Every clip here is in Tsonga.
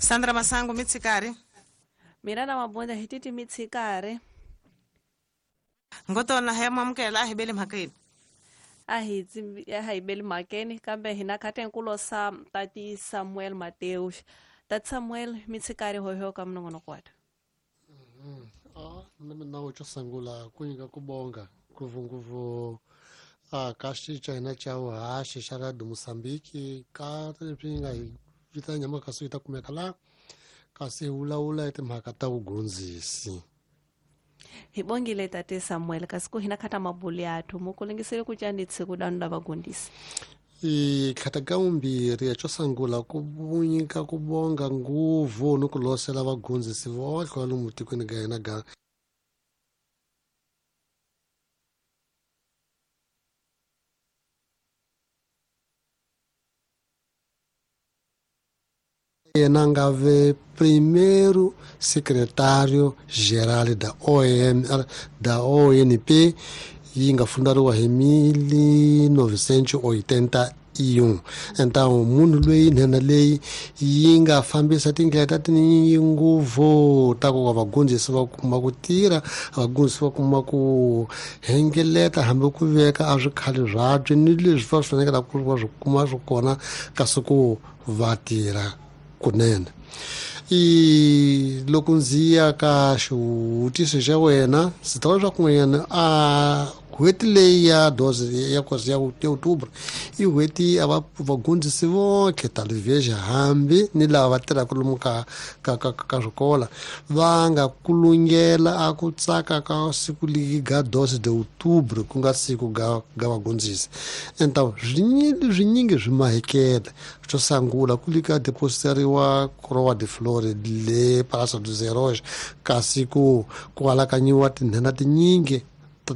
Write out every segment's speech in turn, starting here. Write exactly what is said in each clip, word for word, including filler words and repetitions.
Sandra Masango mitsikari mina na mabunda hi titi mitsikari ngotona he mamukela a hi bele mhakeni a hi a hi bele mhakeni kambe hina khatenkulo sa tati Samuel Mateus tati Samuel mitsikari hoho ka mnongonoko wa ah mina wo sangula ku nyika ku bonga ngopfungopfu a ka xicha hina xa vuhaxi xa Radio Mozambique ka leswi nga hi vitana nyama kasi yi ta kumeka la kasi hi vulavula hi timhaka ta vugondzisi. Hi bongile tate Samuel kasi ku hina khata mabuli yathu mukulingisele ku tyanitse ku danu lava gondisi. I khata ka vumbirhi xo sungula ku nyika ku bonga nguvu ni ku losela vagondzisi vohle va lomu tikweni ka hina ga yena nga ve primeiro secretário geral da O M da O N P yi nga fundariwa hi mil novecentos oitenta e um. Então munhu loyi nhenha leyi yi nga fambisa tindlela ta tinyingi ngopfu ta ku va vagondzisi va kuma ku tirha, vagondzisi va kuma ku hengeleta hambi ku veka a swikhale swabye ni leswi va swi fanekele ku va swi kuma swi kona kasi ku va tirha kunene. I loko ndzi ya ka xivutiso xa wena ndzi ta vula leswaku n'wanyana a n'hweti leyi ya doze ya kosi ya outubro i n'hweti a va vagondzisi vonke talvez hambi ni lava va tirhaka lomu ka ka ka ka swikola va nga kulungela a ku tsaka ka siku ligi ga doze de outubro ku nga siku ga ga vagondzisi. Então swinyingi swinyingi swi mahekela xo sungula ku lika depositeriwa coroa de flores le Praça dos Heróis kasi ku ku alakanyiwa tinhena tinyingi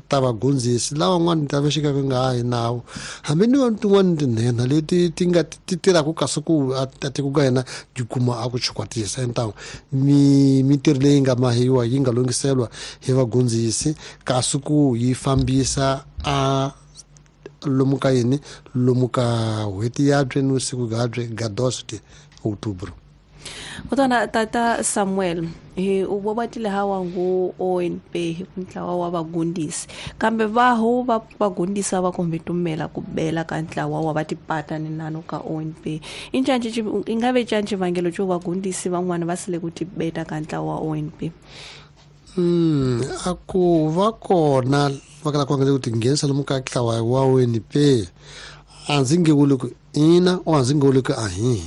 ta vagondzisi lavan'wana ta va xika nga hi nawu hambi ni vanhu tin'wana tinhena leti ti nga ti tirhaka kasi ku a tiko ka hina ti kuma a ku chukwatisa. Então mi mintirho leyi nga mahiwa yi nga lunghiselwa hi vagondzisi kasi ku yi fambisa a lomu ka yini lomu ka n'hweti yabye ni siku gabye ga doze de outubro. Kutana tata Samuel hi u bobatile hawa ngu O N P hi ntlawa wa vagundisi kambe vaho va vagundisa va kombe tumela ku bela ka ntlawa wa va tipata ni nano ka O N P incanci ingabe canci vangelo xo vagundisi van'wana va sile ku tibeta ka ntlawa wa O N P. Mm a ku va kona va kala ku nga ku tinghenisa lomu ka ntlawa wa O N P a ndzi nge vuli ku ina o a ndzi nge vuli ku ahihi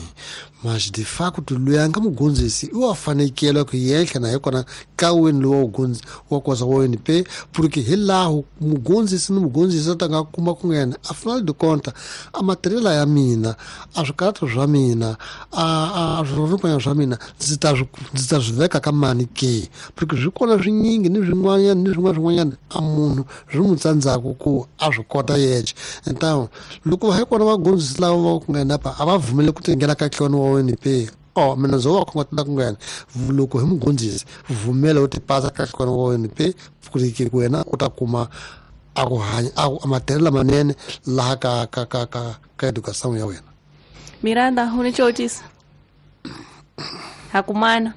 mas de facto loyi a nga mugondzisi i wa fanekele ku yenhla na hi kona ka wini lowu wa wa kosa wa O N P porque hi laho mugondzisi ni mugondzisi a ta nga kuma ku nghena a final de conta a material ya mina a swikarhato swa mina a a swirhopanya swa mina ndzi ta ndzi ta swi veka ka mani ke porque swi kona swinyingi ni swin'wanyana ni swin'wana swin'wanyana a munhu swi n'wi tsandzaka ku a swi kota yexe. Então loko hi kona vagondzisi lava va ku nghena pa a va vumeli ku tinghena ka tlhelo wa O N P o mina ndzo va khongotela ku nghena loko hi mugondzisi vumela u tipasa ka tlhelo wa O N P ku wena u ta kuma a ku hanya a matirhelo lamanene laha ka ka ka ka ka education ya wena. Miranda u ni xivutiso hakumana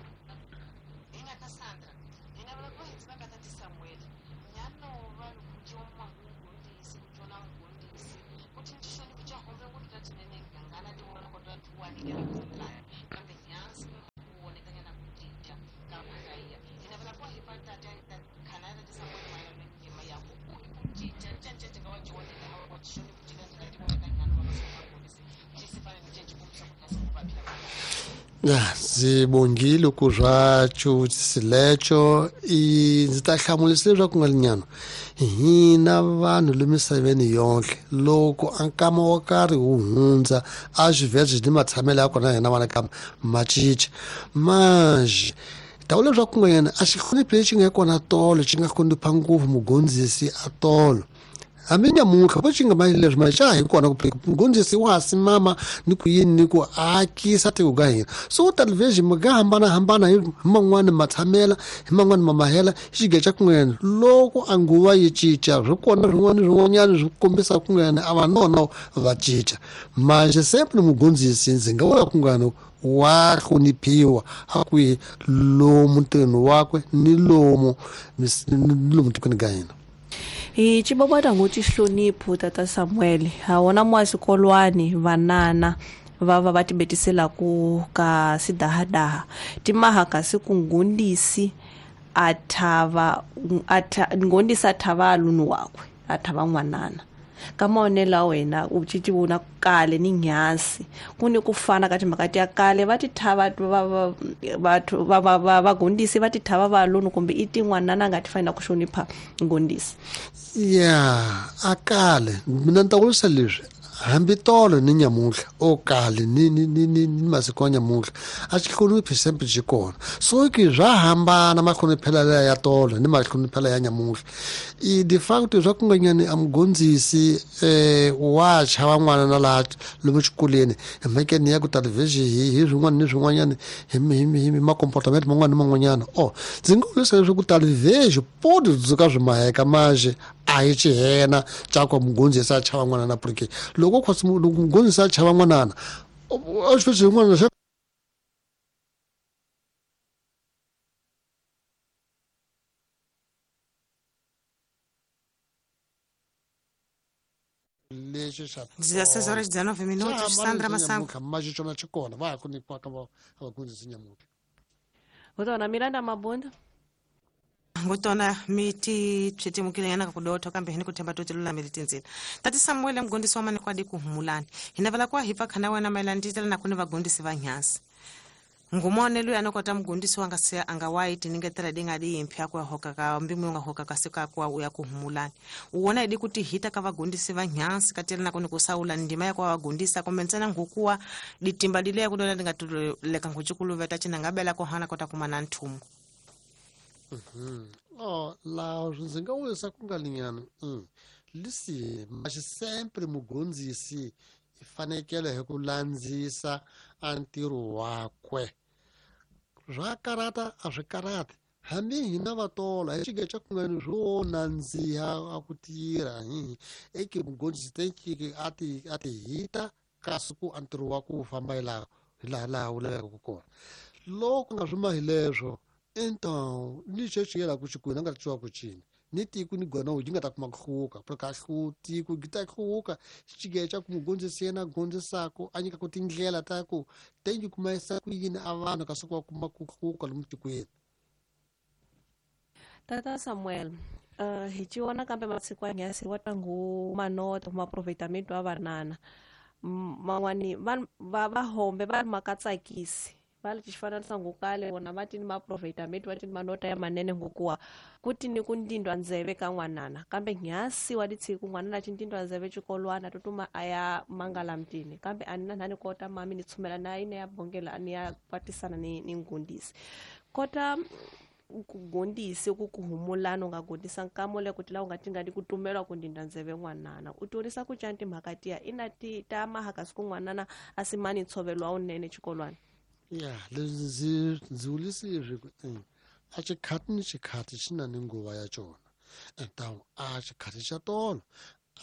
ndzi bongile ku swa xivutiso lexo i ndzi ta hlamulisa leswaku nga linyana hina vanhu le misaveni yonke loko a nkama wo karhi wu hundza a swivezo ni matshamelo ya kona hina vana ka ma cinca manje ta vula leswaku nga yena a xihloniphi lexi nga kona tolo xi nga hlonipha ngopfu mugondzisi a tolo Hambi nyamuntlha vo xi nga ma leswi ma xa hi kona ku mugondzisi wa simama ni ku yini ni ku akisa tiko ka hina. So television mi nga hambanahambana hi man'wani matshamela hi man'wani mamahela xige xa kun'wana loko a nguva yi cinca swi kona swin'wana swin'wanyana swi kombisa kun'wana a va nono va cinca manje sempre mugondzisi ndzi nga vula kun'wana wa hloniphiwa a kwihi lomu ntirhweni wakwe ni lomu ni lomu tikweni ka hina. Hi cibobota ngo xihlonipho tata Samuel ha wona mwa xikolwani vanana va va va tibetisela ku ka sidahadaha timaha kasi ku ngundisi a thava a ngondisa thava alunu wakwe a thava n'wanana ka maonelo wena u ci vona kale ni nyasi ku ni ku fana ka timhaka ti ya kale va ti thava va va va va va gondisi va ti thava va alunu kumbe i tin'wanana nga ti fanela ku hlonipha ngondisi. Ya a kale mina ni ta vurisa leswi hambi tolo ni nyamuntlha o kale ni ni ni ni masiku ya nyamuntlha a xi hloniphi sempre xi kona. So ki swa hambana mahloniphelo ya tolo ni mahloniphelo ya nyamuntlha. I de facto swa ku nga nyani a mugondzisi eh wa chava n'wana na laha lomu xikolweni hi mhakeni ya ku television hi hi swin'wana ni swin'wanyana hi hi hi ma-comportament man'wana ni man'wanyana. O ndzi nga vurisa leswaku television podi dzuka swi maheka manje a hi xihena xa ku mugondzisi a chava n'wana na porque loko khosi loko mugondzisi a chava n'wanana a xi xin'wana xa lexi xa dezesseis horas dezenove minutos. Sandra Masango manje xona xi kona va ha ku nyikiwa ka vagondzisi nyamuntlha. Ngotona Miranda Mabunda ngotona miti tshetemukile yana kudotho kambe hini kuthemba to tilulamile tindzila. Tati Samuel mugondisi wa mani kwadi kuhumulani hinavala kwa hipa khana wena mayelana nditela na kuni vagondisi va nyasi ngumonelo ya nokota mugondisi wanga se anga white ningetela dinga di impya kwa hoka ka mbimu nga hoka ka sika kwa uya kuhumulani uwona idi kuti hita ka vagondisi va nyasi katela na kuni kusaula ndima ya kwa vagondisa komensana ngukuwa ditimba dile ya kudola dingatuleka nguchikuluveta china ngabela kohana kota kumana nthumu. Mhm. Oh, la ndzi nga vurisa ku nga linyana mm. Lisi mas sempre mugondzisi i fanekele hi ku landzisa a ntirho wakwe swa karata a swi karati hambi hina vatola hi xige xa kun'wana swo nandziha a ku tirha hi eke mugondzisi tekiki a ti a ti hita kasi ku a ntirho wa ku famba hi laha hi laha laha wu lavekaka kona. Loko nga swi mahi leswo então ni xexi yela ku xikwini a nga ri ku cina ni tiko ni gona yi nga ta kuma ku hluka porque a hlu tiko yi ta hluka xige xa ku mugondzisi yena gondzisako a nyikaka tindlela ta ku tengi kuma yisa ku yini a vanhu kasi ku va kuma ku hluka lomu tikweni. Tata Samuel uh, hi ci vona kambe masiku ya nyasi wa tangu manota maproveitamento ya vanana man'wani va va va hombe va makatsakisi va li xifananisa ngokale vona va ti ni maproveitamento va ti ni manota ya manene ngokuwa ku ti ni ku ndindwa ndzeve ka n'wanana kambe nyasi wa litshiku n'wanana ci ndindwa ndzeve xikolwana tutuma a ya mangala mtini kambe a ni na ni kota mami ni tshumela na ine ya bongela a ni ya kwatisana ni ni ngundisi kota ku gondisi ku kuhumulana u nga gondisa nkamo le ku tila u nga tingadi ku tumelwa ku ndindwa ndzeve n'wanana u tionisa ku ca timhaka tiya ina ti ta mahaka siku n'wanana a simani ntshovelo wa wunene xikolwana. Ya leswi ndzi ndzi vulisi leswi ku a xikhati ni xikhati xi na ni nguva ya xona então a xikhati xa tolo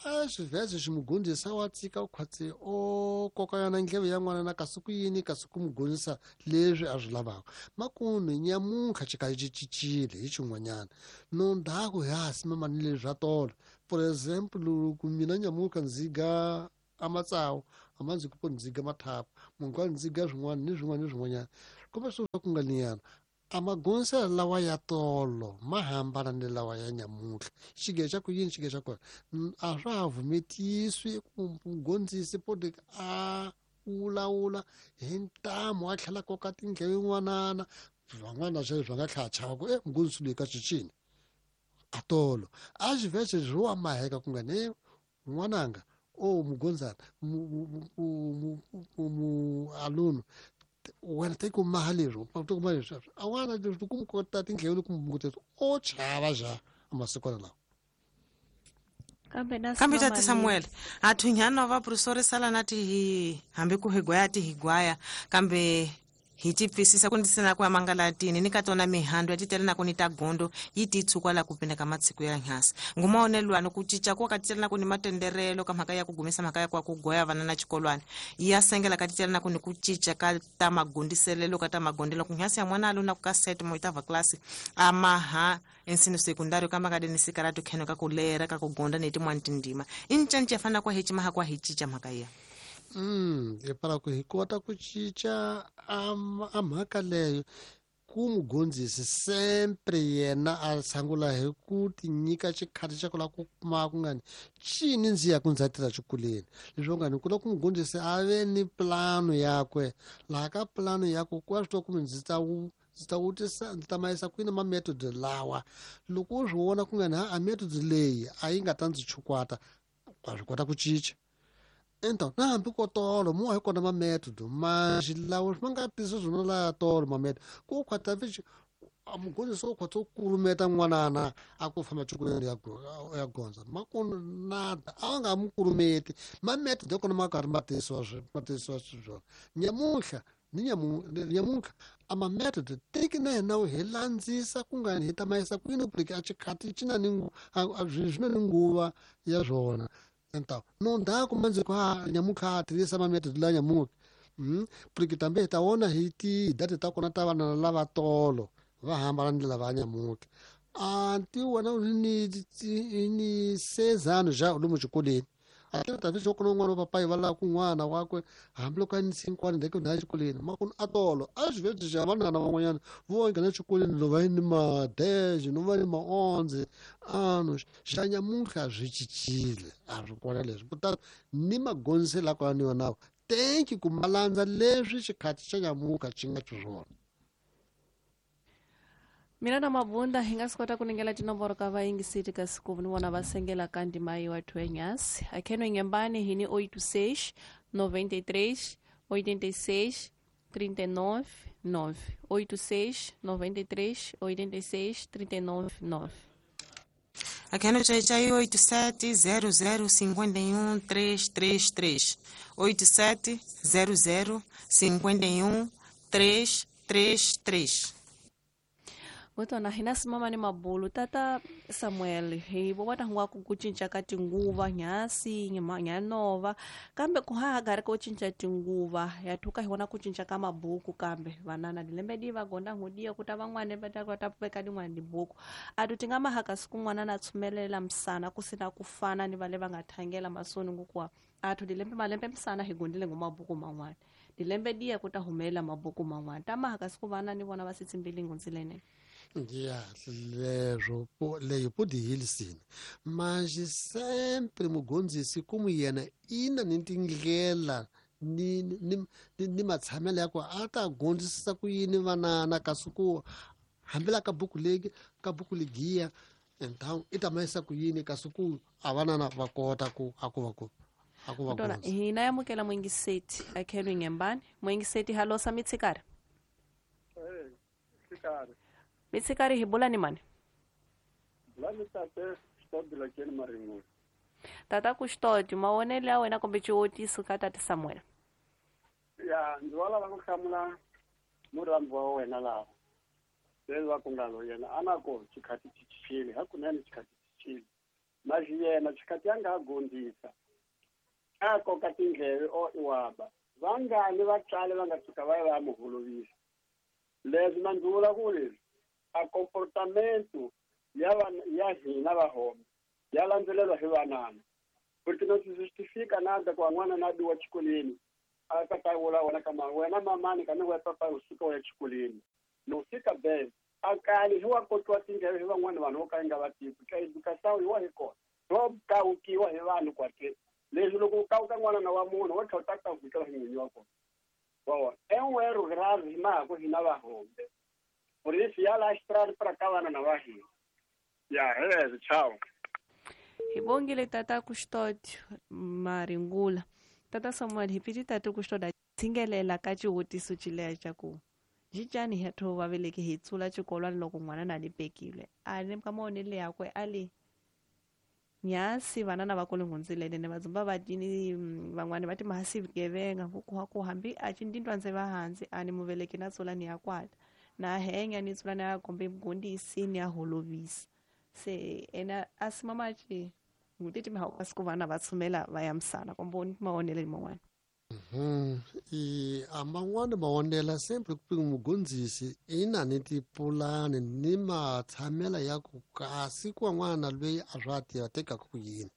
a xivheze xi mugondzisa wa tsika khwatsi o koka yona ndleve ya n'wana na kasi ku yini kasi ku mugondzisa leswi a swi lavaka makume nyamuntlha xikali xi cincile hi xin'wanyana no ndhaku ha simama ni leswi swa tolo. For example loko mina nyamuntlha ndzi ga a matsawu a ma ndzi ku ndzi ga mathapu munhu ndzi ga swin'wana ni swin'wana ni swin'wanyana kumbe swo ku nga liyana a magondziselo lawa ya tolo ma hambana ni lawa ya nyamuntlha xige xa ku yini xige xa kona a swa ha vumetiswi ku mugondzisi podi a wulawula hi ntamu a tlhela koka tindleve n'wanana van'wana sweswi va nga tlhela chava ku e mugondzisi loyi ka cincini a tolo a xivhese swi wa maheka ku nga ne n'wananga o mugondzana mu aluno wena te ku maha leswi te ku maha leswi a wana leswi ku kota tindleve loko munguteti o chava xa amasikwana lawa. Kambe na Kambe tati Samuel athunyana va professor sala na ti hi hambi ku higwaya ti higwaya kambe hi ti pfisisa ku ndisina ku amangalatini ni ka tona mihando ya titele na ku ni ta gondo yi ti tsukwa la ku pina ka matsiko ya nhasi nguma onelwano ku cinca ku ka titele na ku ni matenderelo ka mhaka ya ku gumisa mhaka ya ku ku goya vana na xikolwana ya sengela ka titele na ku ni ku cinca ka ta magondiselelo ka ta magondelo ku nhasi ya mwana alo na ku ka set mo itava class amaha ensino secundário ka maka deni sikaratu kheno ka ku lera ka ku gonda ni tin'wana tindima i ncanca fana kwa hi maha kwa hi cinca mhaka ya. Mm, e para ku hi kota ku cinca a mhaka leyo ku mugondzisi sempre yena a sangula hi ku tinyika xikhati xa ku lava ku kuma ku ngani cini ndzi ya ku ndza tirha xikolweni leswi ngani ku lava ku mugondzisi a ve ni plano yakwe laha ka plano yakwe ku wa swi tiva ku ndzi ta wu ndzi ta vutisa ndzi ta mayisa kwini ma method lawa loko u swi vona ku ngani a method leyi a yi nga ta ndzi chukwata wa swi kota ku cinca. Então, na hambi ko tolo mo hi kona ma method mas lawo ma nga tisi swona la tolo ma method ku khwata vi a mugondzisi wo khwata ku kulumeta n'wanana a ku famba xikolweni ya ya gondza ma ku nada a nga mu kulumeti ma method ya kona ma karhi ma tisiwa ma tisiwa swona nyamuhla ni nyamu nyamuhla a ma method teki na hina hi landzisa ku nga hi ta mayisa kwini ku a xikhati xi na ni swi na ni nguva ya swona. Então, não dá como dizer que ah, nyamuka tirisa ma method la nyamuka. Mm, porque também ta ona hiti data ta kona ta vana lava tolo va hambana ni lava nyamuka. Anti wena ni ni seis anos já lomu xikolweni. Até talvez eu kona n'wana wa papai va lava ku n'wana wakwe hambiloko a ni cinco anos daqui na xikolweni ma ku atolo às vezes já vanana van'wanyana vo nghena xikolweni lo va ni ma dez no va ni ma onze anos xa nyamuhla swi cincile a swi kona leswi kutani ni magondziselo la kona ni yona tenki ku ma landza leswi xikhati xa nyamuhla xi nga xiswona. Mina na Mabunda hi nga swi kota ku ningela tinomboro ka vayingiseri ka siku ni vona va sengela ka ndima yi wa thwenyasi akheno ngembani hi ni oito seis noventa e três oitenta e seis trinta e nove nove oito seis noventa e três oitenta e seis trinta e nove nove. Akheno chai oito sete zero zero cinquenta e um três três três oito sete zero zero cinquenta e um três três três. Ngotona hina simama ni mabulu tata Samuel hi vo vona ngwa ku ku cinca ka tinguva nyasi nyanova kambe ku ha gari ko cinca tinguva ya thuka hi vona ku cinca ka mabuku kambe vanana dilembe di va gonda ngudiya ku ta van'wana va ta kota veka din'wana dibuku a tu tinga mahaka siku n'wana na tshumelela msana ku sina ku fana ni vale va nga thangela masoni ngukwa a tu dilembe malembe msana hi gondile ngo mabuku man'wana dilembe diya ku ta humela mabuku man'wana ta mahaka siku vana ni vona va sitsimbili ngunzilene. Ya, leswo leyo podi hilisini mas sempre mugondzisi ku yena ina ni tindlela ni ni ni matshamelo ya ku a ta gondzisisa ku yini vanana kasi ku hambila ka buku legi ka buku legiya então i ta mayisa ku yini kasi ku a vanana va kota ku a ku va ku a ku va gondza. Hina yamukela mwingiseti akhelwe ngembani mwingiseti halosa mitsikari eh tsikari Mitsikari hi bula ni mani? Bula tate Xitodi la keni Marin'wana. Tata ku Xitodi mavonelo ya wena kumbe xivotiso ka tata Samuel. Ya ndzi va lava ku hlamula murhambi wa wena laha. Leswi va ku nga lo yena a na ko xikhati xi cincile hakunene xikhati xi cincile. Mas yena xikhati ya nga ha gondzisa a koka tindleve o iwaba vangani vatswari va nga tshuka va ya va ya mu holovisa. Leswi na ndzi vula ku leswi a comportamento ya ya hina va home ya landzelelwa hi vanana porque não se justifica nada ku n'wana na biwa xikolweni a ka ta vula wena ka ma wena mamani ka ni wa papa u suka u ya xikolweni no fika be a kali hi wa kotiwa tindleve hi van'wana vanhu vo ka nga va tivi ka educação hi wa hi kona ro kawukiwa hi vanhu kwate leswi loko u kawuka n'wana na wa munhu wo tlhela u ta kawukela hi n'winyi wa kona wa vona en'werhu grave hi mahaku hina va hombe. Por isso, ya la estrada para cá lá na Bahia. Ya, beleza, tchau. Hi bongile tata Custódio Maringula. Tata Samuel, repeat tata Custódio tsingelela ka xivutiso xileya xa ku jijani hi tho va veleke hi tsula xikolwana loko n'wana na ni pekile. A ni ka mavonelo yakwe a li Nyasi vanana va kule ngunzilene ne vadzumba va tini van'wani va ti mahasi vugevenga ku ku hambi a ci ndindwa ndze va hansi a ni muveleki na tsula ni ya kwata na henya ni tsula ni ya kombe mugondisi ni ya holovisa se ena a si mama ci ngutiti mi siku vana va tshumela va ya misana kombo ni maonele man'wana. Mhm i aman'wana maonela sempre ku mugondzisi ina ni tipulani ni matshamela ya ku kasi ku n'wana loyi a swa tiva tekaka ku yini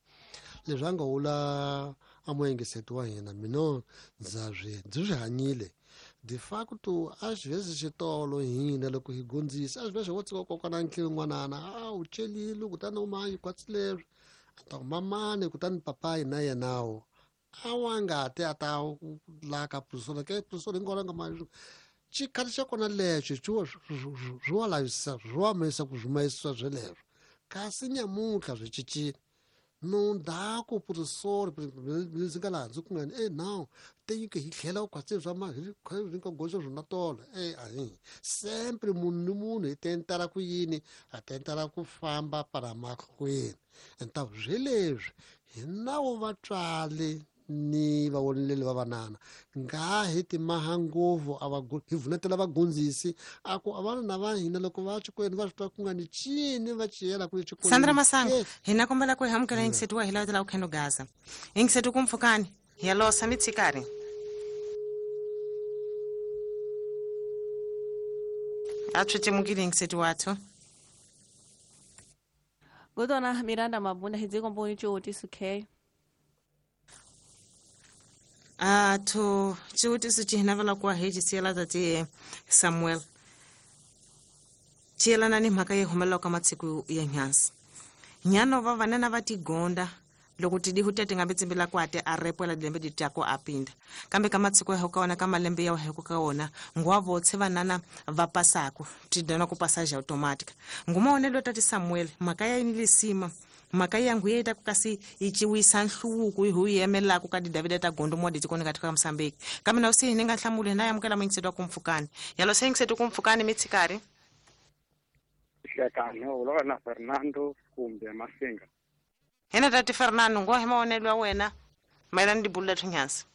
leswi a nga wula a muengiseti wa hina mina ndza swi ndzi swi hanyile de facto às vezes xitolo hina loko hi gondzisa às vezes wo tsika kokwana ntlhelo n'wanana a wu celile kutani u mayi kwatsi leswi a ta ku mamani kutani papayi na yenawo a wa nga te a ta la ka professor ke professor hinkwawo nga ma xikhati xa kona lexo swi wa lavisa swi wa misa ku swi sweleswo kasi nyamuntlha swi cincile no ndhaku professor ndzi nga laha ndzi ku ngani e now te hi tlhela u khwatsi swa ma hi nga goxa swona tolo e ahi sempre munhu ni munhu hi tentela ku yini a tentela ku famba para mahlweni enta sweleswi hi nawu vatswali ni vawoneleli va vanana nga hi timaha ngopfu a va hi vunetela vagondzisi a ku a vana va hina loko va xikolweni va swi twa ku nga ni cini va ciyela ku xikolweni. Sandra Masango hina kombela ku hi amukela yingiseti wa hi lavela ku khendo gaza yingiseti ku mpfukani hi ya losa mitshikari a tswetemukile yingiseti wathu. Godona Miranda Mabunda hi dzikomboni ciwutiso k a to ciwutiso ci hina vala ku hi cisiyela tati Samuel ciyelana ni mhaka yi humelelaka ka matsiku ya nyansi nyano va vanana va tigonda loko tidihu tete nga betsimbela kwate a repwela dilembe di tyako a pinda kambe ka matsiko ya ka wona ka malembe ya heko ka wona ngwa votse vanana va pasako tidana ku passage automatic ngumaonelo tati Samuel mhaka ya lisima mhaka ya nguye ta kasi yi ciwisa nhluvuko hi hu yemelaka ka Davida ta gondo mo ditikoni ka tika Mozambique kambe na usi ni nga hlamuli na yamukela mingiseto ku mpfukani yalo se ngiseto ku mpfukani mitsikari hlekani u na Fernando kumbe Masinga hina tati Fernando ngo hi maonelo ya wena mayelana ni dibulu lethu nyansi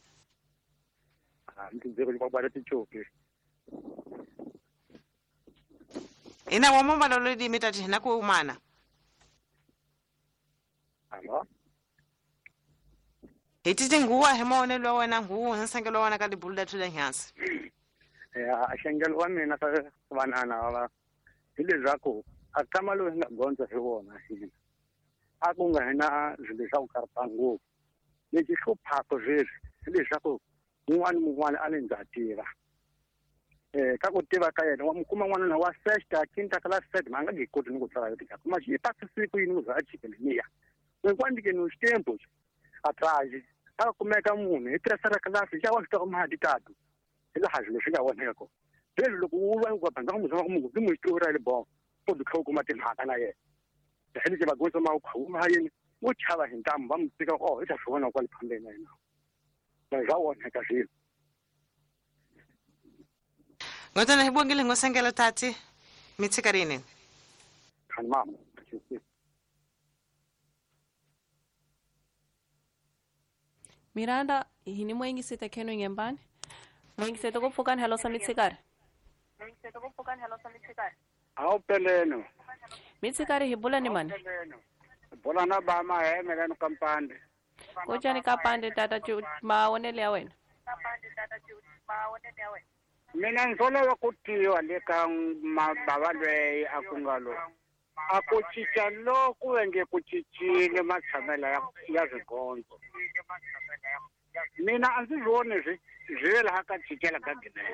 a ndzi dziko kwa tichoki ina wa momba lo di mitati hina ku umana. Alo hi titi nguwa hi maonelo ya wena nguwa nsangelo wa wena ka dibulu lethu la nyansi ya xengelo wa mina ka vanana va hi leswaku a tshama loyi nga gondza hi wona hina a ku nga hina swilo swa ku karhata ngopfu lexi hluphaka sweswi hi leswaku un'wana ni un'wana a ni ndza tiva um ka ku tiva ka yena wa mi kuma n'wanuna wa sexta quinta class set ma nga nge koti ni ku tsala yo tika kuma xi pasi siku yini ku za a chikele hinkwanike no xitempo atrás a kumeka munhu hi tirhisa class xa wa swi twa mali tatu hi laha swilo swi nga voneka kona leswi loko u va ku bandza ku muzama ku munhu ndzi n'wi tiva le bon u ti kha u kuma timhaka na yena lexi va gosa ma khuma yini wo chava hi ntamu va mi tika oh i ta swi vona kwale phambeni na yena va swa voneka swilo. Ngotana hi bongile ngosengela tati mitsikarini khani mama. Miranda hini moyingisete kheno ngembani moyingisete ku pfukani halo sa mitsikari awu peleno mitsikari hi bula ni mani bula na ba ma hemela no kampande kotjani kapande tata maonele ya wena mina ndzi lava ku tiva le ka mabava lweyi a ku nga lo a ku cinca loku ve nge ku cincile matshamelo ya ya swigondzo mina a ndzi voni swi swi ve laha ka cincela ka ginene